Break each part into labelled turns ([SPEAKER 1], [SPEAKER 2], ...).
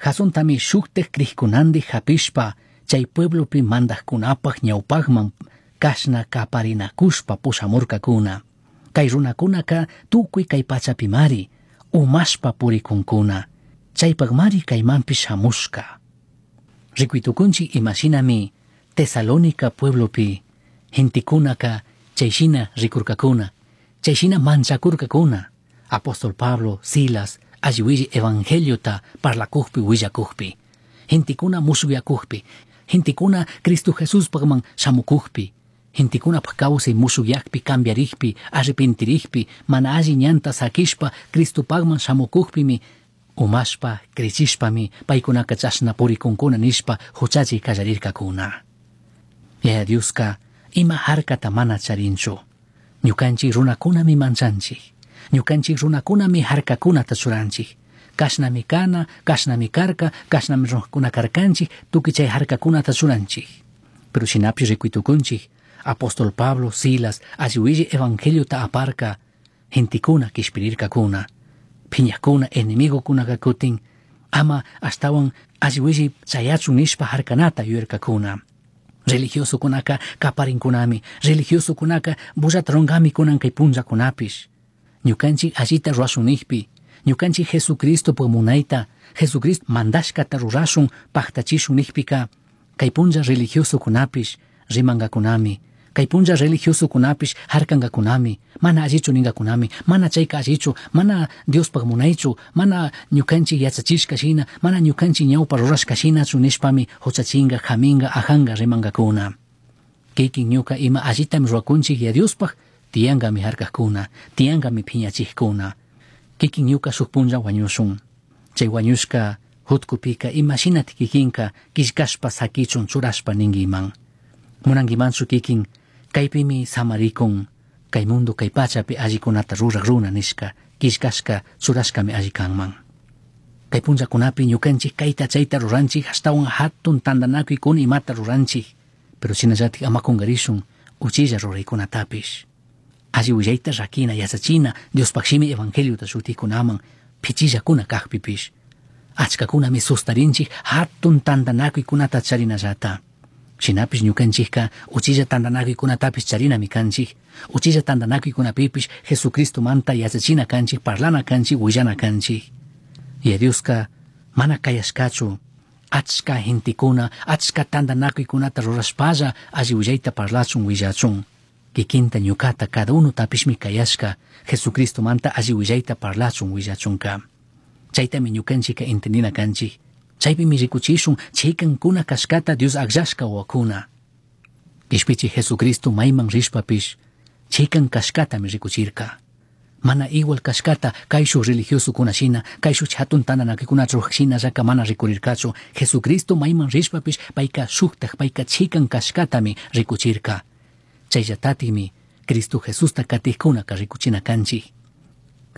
[SPEAKER 1] Jasontami shujtaj crijcunandij japishpa chai pueblopi mandajcunapaj ñaupajman cashna caparinacushpa pushamurcacuna. Cai runacunaca tucui cai pachapimari umashpa puricuncuna. Chaipajmari caimanpish shamushca. Ricuitucunchij imashinami Tesalónica pueblopi gentecunaca chayshina ricurcacuna, chayshina manchacurcacuna. Apóstol Pablo, Silas, alli willi evangeliota parlacujpi willacujpi, gentecuna mushugyacujpi, gentecuna Cristo Jesuspajman shamucujpi, gentecunapaj kawsay mushugyakpi cambiarijpi, arrepentirijpi, mana alli ñanta saquishpa Cristopajman shamucujpimi umashpa, crechishpami paykunaka chashna puricuncuna nishpa huchachi kallarirkakuna. Yaya Dioska ima harkata mana charinchu. Ñukanchik runakunami manchanchik. Ñukanchik runakunami harkakunata churanchik. Kashnami kana, kashnami karka, kashnami runakuna karkanchik, tukuy chay harkakunata churanchik. Pero shinapish rikuytukunchik, apóstol Pablo, Silas, alli willi evangeliota aparka, gentekuna kishpirirkakuna. Phiñakuna, enemigokunaka kutin, ama ashtawan alli willi chayachun nishpa harkanata yuyarkakuna. Religiosokunaka kaparinkunami, religiosokunaka bullata rungami kunan kay punllakunapish. Ñukanchik allita rurashun nijpi, ñukanchik Jesucristopaj munayta, Jesucristo mandashkata rurashun paktachishun nijpika, kay punlla religiosokunapish rimankakunami, kay punlla religiosokunapish harkankakunami, mana allichu ninkakunami, mana chayka allichu, mana Diospaj munaychu, mana ñukanchik yachachishka shina, mana ñukanchik ñawpa rurashka shinachu nishpami huchachinga, haminga, ajanga rimankakuna. Kikin ñuka ima allitami rurakunchik ya Diospaj, tiyankami harkakuna, tiyankami phiñachijkuna. Kikin ñuka shuk punlla wañushun. Chay wañushka hutkupika imashinatik kikinka killkashpa sakichun churashpa ninkiman. Munankimanchu kikin kaypimi samarikun, kay mundo kay pachapi allikunata rurak runa nishka, killkashka churashkami alli kanman. Kay punllakunapi ñukanchik kayta chayta ruranchik ashtawan hatun tantanakuykuna imata ruranchik, pero shinallatik ama kunkarishun uchilla ruraykunatapish. Alli willayta rakina yachachina Diospaj shimi evangeliota shutikunaman pichillakuna kajpipish. Achkakunami sustarinchik hatun tantanakuykunata charinallata. Shinapish ñukanchikka uchilla tantanakuykunatapish charinami kanchik. Uchilla tantanakuykunapipish Jesucristomanta yachachina kanchik, parlana kanchik, willana kanchik. Yaya Dioska mana kayashkachu achka gentekuna, achka tantanakuykunata rurashpalla alli willayta parlachun willachun. Kikinta ñukata cada uno tapishmi kayashka Jesucristomanta alli willayta parlachun willachunka. Chaytami ñukanchika entendina kanchik. Chaypimi rikuchishun chikankuna kashkata Dios akllashka wawakuna. Kishpichi Jesucristo mayman rishpapish chikan kashkatami rikuchirka. Mana igual kashkata kayshuj religiosokuna shina, kayshuj hatun tantanakuykunata ruraj shinallaka mana rikurirkachu. Jesucristo mayman rishpapish payka shuktaj, payka chikan kashkatami rikuchirka. Chayllatatimi Cristo Jesusta katijkunaka rikuchina kanchik.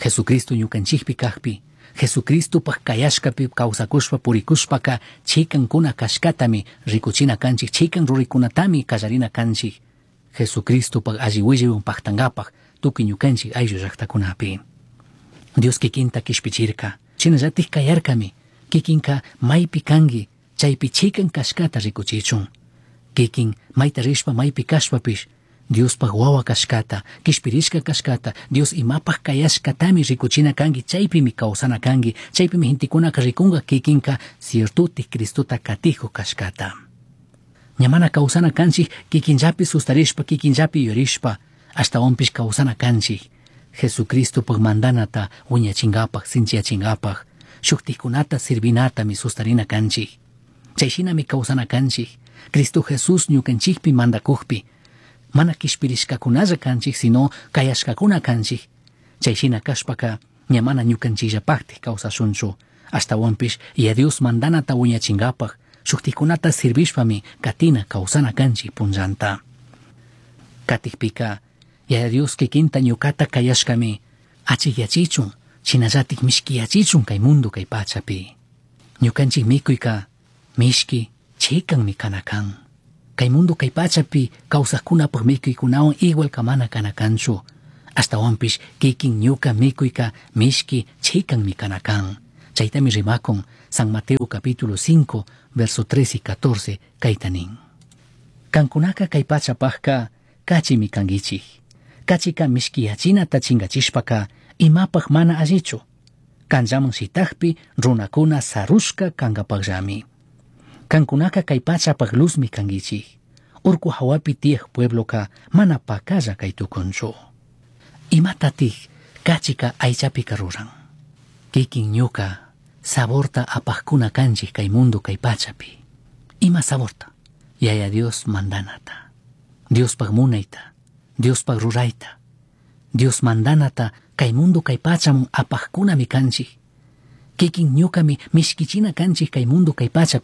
[SPEAKER 1] Jesucristo ñukanchikpi kajpi, Jesucristopaj kayashkapi kawsakushpa purikushpaka chikankuna kashkatami rikuchina kanchik, chikan ruraykunatami kallarina kanchik. Jesucristopaj alli willaywan paktankapaj tukuy ñukanchik ayllu llaktakunapi. Dios kikinta kishpichirka, shinallatik kayarkami, kikinka maypi kanki, chaypi chikan kashkata rikuchichun. Kikin mayta rishpa maypi kashpapish, Diospaj wawa kashkata, kishpirishka kashkata, Dios imapaj kayashkatami rikuchina kanki, chaypimi kawsana kanki, chaypimi gentekunaka rikunka kikinka ciertotik Cristota katijuj kashkata. Ña mana kawsana kanchik kikinllapi sustarishpa, kikinllapi yurishpa, ashtawanpish kawsana kanchik. Jesucristopaj mandanata wiñachinkapaj, sinchiyachinkapaj, shuktikkunata sirvinatami sustarina kanchik. Chayshinami kawsana kanchik. Cristo Jesús ñukanchikpi mandakujpi, mana kishpirishkakunalla kanchik, sino kayashkakuna kanchik. Chayshina kashpaka ña mana ñukanchikllapaktik kawsashunchu. Ashtawanpish ya Dios mandanata wiñachinkapaj, shuktikkunata sirvishpami katina kawsana kanchik punllanta. Katikpika, Yaya Dios kikinta ñukata kayashkami achikyachichun, shinallatik mishkiyachichun kay mundo kay pachapi. Ñukanchik mikuyka mishki chikanmi kana kan. Kay mundo kay pachapi kawsajkunapaj mikuykunawan igual kamana kana kanchu. Ashtawanpish kikin ñuka mikuyka mishki chikanmi kana kan. Chaytami rimakun San Mateo capítulo 5, verso 3 y 14, kayta nin. Kankunaka kay pachapajka kachimi kankichik. Kachika mishkiyachinata chingachishpaka imapaj mana allichu. Kanllaman shitakpi runakuna sarushka kankapakllami. Kankunaka kay pachapaj luzmi kankichik. Urku hawapi tiyaj puebloka mana pakalla kay tukunchu. Imatatik kachika aychapika ruran. Kikin ñuka saborta apajkuna kanchik kay mundo kay pachapi. Ima saborta? Yaya Dios mandanata. Diospaj munayta, Diospaj rurayta. Dios mandanata kay mundo kay pachaman apajkunami kanchik. Kikin ñukami mishkichina kanchik kay mundo kay pachapi.